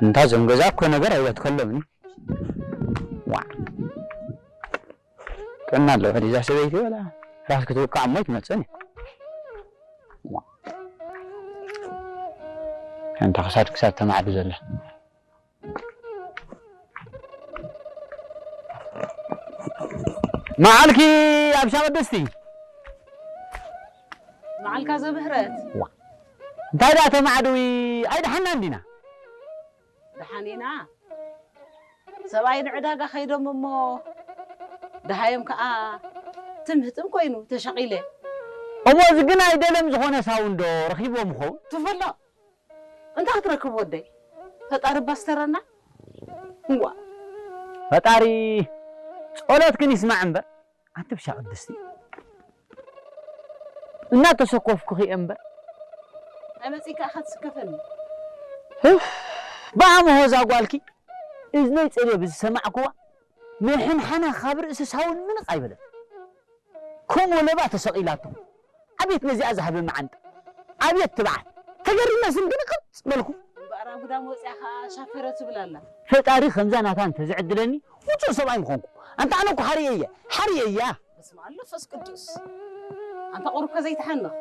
እንታ እዞም ገዛ እኮ ነገር ኣይበትከሎምን። ዋ። ጥዕና ኣለዋ ድዛ ሰበይቲ ወላ ራስ ክትውቃዕ እሞ ኣይትመጽእን እያ። ዋ። እንታ ክሳድ ክሳድ ተማዕዱ ዘላ። መዓልኪ ኣብ ሻቕድስቲ። መዓልካ ዘምህረት። ዋ። እንታይ ደኣ ተማዕድዊ ኣይደሓና እንዲና? ደሓን ኢና። ሰብኣይ ንዕዳጋ ከይዶም እሞ ደሃዮም ከኣ ትምህትም ኮይኑ ተሸቒለ። እሞ እዚ ግን ኣይደለም ዝኾነ ሳውንዶ ረኺብዎም ይኸውን? ትፈሎ። እንታይ ክትረክብ ወደይ? ፈጣሪ ባስተረና። እዋ። ፈጣሪ ጸሎትክን ይስማዕ እምበር፣ ኣንቲ ብሻ ቅድስቲ። እናተሰኮፍኩኺ እየ እምበር። ኣመጺካ ኢኻ ትስከፈኒ። ህፍ፣ ብኣምሆ እዛ ጓልኪ እዝነይ ጸልየ ብዝሰማዕኩዋ፣ ምሕንሓና ካብ ርእሲ ሳውን ምንቕ ኣይበለን። ከምኡ ለባ ተሰቒላቶ። ኣቤት ነዚኣ ዝሃበ መዓንጣ። ኣቤት ትብዓት። ተገሪመ ስም ግን ቅርጽ በልኩ። እምበኣር ኣጉዳም ወፂኣ ኸዓ ሻፈረ ትብል ኣላ። ፈጣሪ ከምዛ ናታ እንተዝዕድለኒ ውጹእ ሰብኣይ ምኾንኩ። ኣንታ ኣነ እኮ ሓርየ እየ። ሓርየ እያ። በስመ ኣብ መንፈስ ቅዱስ። ኣንታ ቁሩብ ከ ዘይትሓንኽ።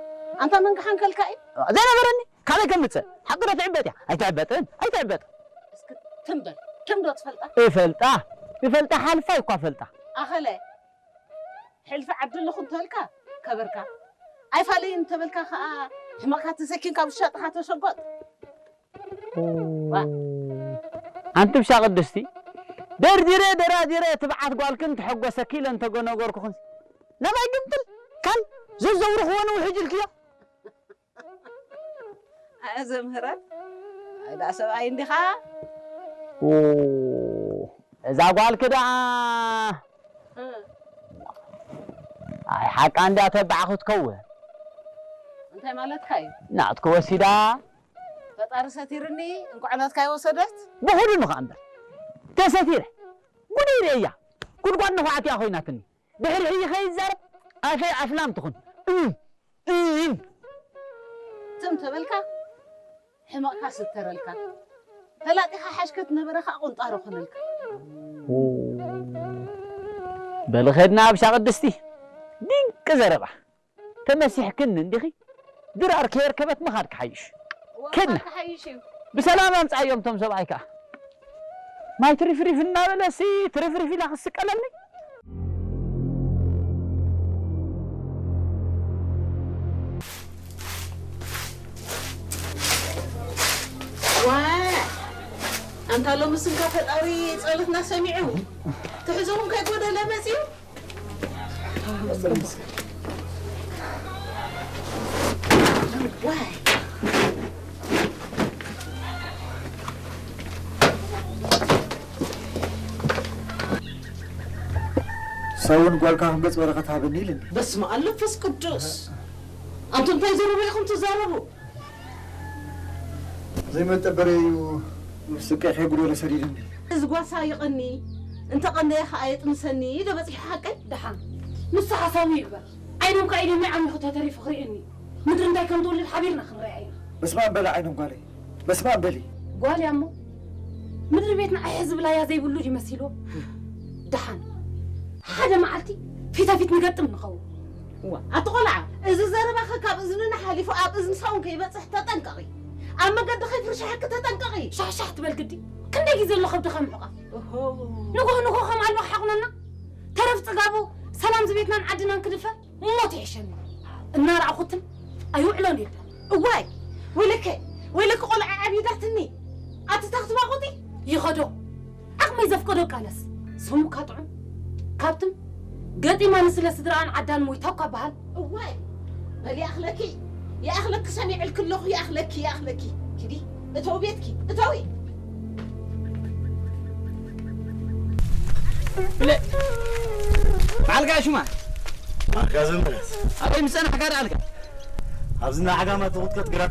ኣንታ መን ክሓንከልካ እዩ? ዘይነበረኒ ካበይ ከምጽእ? ሓቂ ዶ ትዕበጥ እያ? ኣይትዕበጥን። ኣይትዕበጥን። እስኪ ትም በል። ትም ዶ ትፈልጣ? እፈልጣ። እፈልጣ ሓልፋ እኳ ፈልጣ። ኣኸለ። ሕልፊ ዓዲ ኣለኹ እንተበልካ ከበርካ፣ ኣይፋለይን እንተበልካ ከኣ ሕመቕካ ተሰኪምካ ብሻጥኻ ተሸጎጥ። ዋ። ኣንቲ ብሻ ቅድስቲ፣ ደርዲረ ደራዲረ ትብዓት ጓልክን ተሐጎሰኪ ኢለ እንተገነገርኩኽን፣ ናባይ ግምጥል ካል ዘዘውርኽዎ ንውሕጅ ኢልክዮ። ኣየ ዘምህረት፣ ኣይ ደኣ ሰብኣይ እንዲኻ። ኡ፣ እዛ ጓልኪ ደኣ። እ። ኣይ ሓቃ እንድያ ተባዕ ክትከውን። እንታይ ማለትካ እዩ? ናትኪ ወሲዳ። ፈጣሪ ሰቲርኒ፣ እንኳዕ ናትካ ይወሰደት። ብኹሉ ንኸኣ እምበር። ተሰቲረ። ጉደይ ርእያ። ጉድጓድ ነዃዕቲ እያ ኮይናትኒ። ድሕሪ ሕጂ ከይዛረብ ኣፈይ ኣፍላም ትኹን። እም፣ እም። ትም ተበልካ፣ ሕመቕካ ስተረልካ። ፈላጢኻ ሓሽከት ነበረ ኸዓ ቁንጣሮ ኾነልካ። ኦ፣ በሊ ኸድና ኣብ ሻቕድስቲ። ድንቂ ዘረባ። ተመሲሕክኒ እንዲኺ። ድራር ከየርከበት ምኻድ ክሓይሽ። እዋ፣ ከድና። ምኻድ ክሓይሽ እዩ። ብሰላም ኣምጻዮም እቶም ሰብኣይ ከኣ። ማይ ትሪፍሪፍ እናበለ ሲ ትሪፍሪፍ ኢላ ክስቀለኒ። ዋ፣ ኣንታ ሎሚ ስንካ ፈጣሪ ጸሎትና ሰሚዑ። ትሕዞ እውን ከይጎደለ መጺኡ። ሰውን ጓልካ ከም ገጽ በረኸት ሃበኒ ኢልኒ። በስመ ኣብ መንፈስ ቅዱስ። ኣንቱም እንታይ ዘረባ ኢኹም ትዛረቡ? ዘይመጠበረ እዩ ስቀይ ከይጉደሎ ሰዲድኒ። እዚ ጓሳ ይቐኒ፣ እንተቐነየ ኸኣ የጥንሰኒ ኢሉ በጺሑ ሓቀይ። ደሓን ንሱ ሓሳቡ ይግበር። ዓይኖም ከኣ ኢደመይ ዓሚኹ ተተሪፉ ክርእየኒ። ምድሪ እንታይ ከም ትወልድ ሓቢርና ክንረኣያ ኢና። በስመ ኣብ በሊ ዓይኖም ጓለይ፣ በስመ ኣብ በሊ። ጓል እያ እሞ ምድሪ ቤትና ኣሕ ዝብላ እያ ዘይብሉ ድዩ መሲልዎ? ደሓን ሓደ መዓልቲ ፊታፊት ንገጥም ንኸውን። እዋ፣ ኣቲ ቆልዓ፣ እዚ ዘረባኸ ካብ እዝንና ሓሊፉ ኣብ እዝኒ ሳውን ከይበጽሕ ተጠንቀቒ። ኣብ መገዲ ከይፍርሽሓኪ ተጠንቀቒ። ሻሕሻሕ ትበል ግዲ። ክንደይ ግዜ ኣሎ ከብድኻ ምሕቋፍ? ኦሆ። ንግሆ ንግሆ ከም ኣልዋ ሓቑነና። ተረፍ ጽጋቡ ሰላም ዝቤትናን ዓድናን ክድፈር ሞት ይሕሸኒ። እናረኣኹትን ኣይውዕሎን የለን። እዋይ፣ ወይለከ፣ ወይለከ ቆልዓ ዓቢዳትኒ። ኣቲ ታኽትባቑጢ? ይኸዶ። ዓቕመይ ዘፍቀዶ ቃለስ፣ ስሙካ ጥዑም። ካብትም ገጢማኒ ስለ ስድራኣን ዓዳን ሞይታ እኳ በሃል። እዋይ፣ በል ይኣኽለኪ፣ ይኣኽለኪ ሰሚዐልኪ ኣለኹ፣ ይኣኽለኪ፣ ይኣኽለኪ። ኪዲ፣ እተው ቤትኪ፣ እተዊ። ብለ-፣ በዓልካ ሹማ። በዓልካ ዘመረት። ኣበይ ምጸናሕካ ደኣልካ? ኣብዚ እንዳ ዓጋማ ትኹትከት ግራት